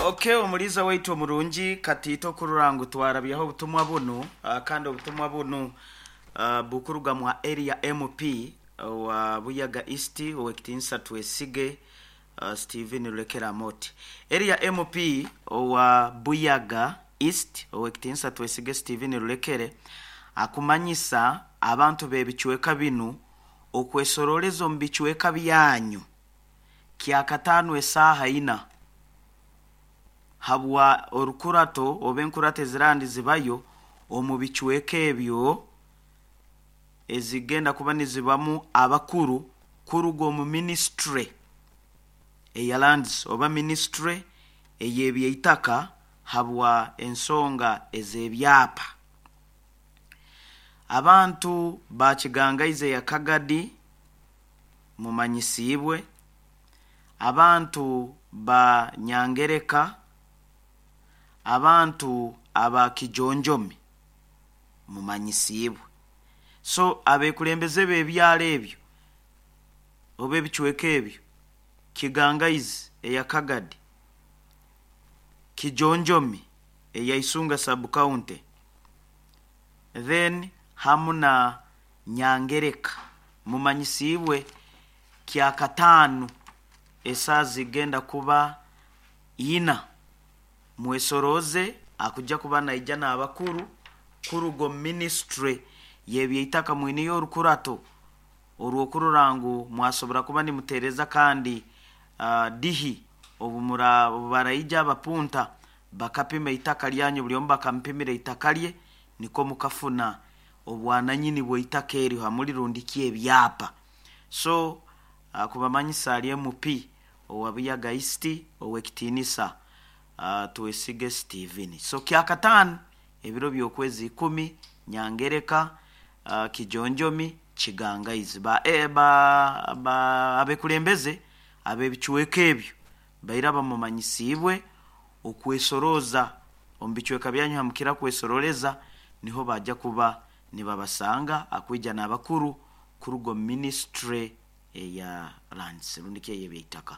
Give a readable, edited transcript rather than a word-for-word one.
Okay, omuliza waitu omurungi, katiito okurora ngu twarabyaho obutumwa bunu, kandi obutumwa bunu bukuruga mwa area MP owa Buyaga East, ow'ekitinisa Twesige Stephen Rulekera Amoti. Area MP owa Buyaga East, ow'ekitinisa Twesige Stephen Rulekere, akumanyisa abantu b'ebicweka binu okwesoroleza omu bicweka byanyu kyakataano esaaha ina habwa orukurato oba enkurato ezirandi zibayo omu bicweka ebyo ezigenda kuba nizibamu abakuru kuruga omu minisitule eya lands oba minisitule ey'ebyeitaka habwa ensonga ez'ebyapa. Abantu ba Kigangaizi eya Kagadi mumanyisiibwe, abantu ba Nyangereka, abantu aba Kijonjomi mumanyisiibwe. So abekulembeze b'ebyaro ebyo oba ebicweka ebyo, Kigangaizi eya Kagadi, Kijonjomi eya Isunga sub county, then hamu na Nyangereka mumanyisiibwe kyakataano esaaha zigenda kuba ina mwesorooze akujja kuba naija n'abakuru kuruga omu minisitule y'ebyeitaka mwineyo orukurato orw'okurora ngu mwasobora kuba nimuteereza kandi dihi obu baraija abapunta bakapima eitaka lyanyu, buli omu bakamupimira eitaka lye nikwo mukafuna obwananyini bw'eitaka eryo hamuli rundiki ebyapa. So kubamanyisa ali MP owa Buyaga East, ow'ekitiinisa Twesige Stephen. So kyakataano ebiro by'okwezi ikumi, Nyangereka, Kijonjomi, Kigangaizi. Ba, ba, ba abekulembeze ab'ebicweka ebyo baira bamumanyisiibwe okwesorooza omu bicweka byanyu hamukira kwesoroleza niho baija kuba nibabasanga akwija n'abakuru kuruga omu minisitule eya lands rundiki ey'ebyeitaka.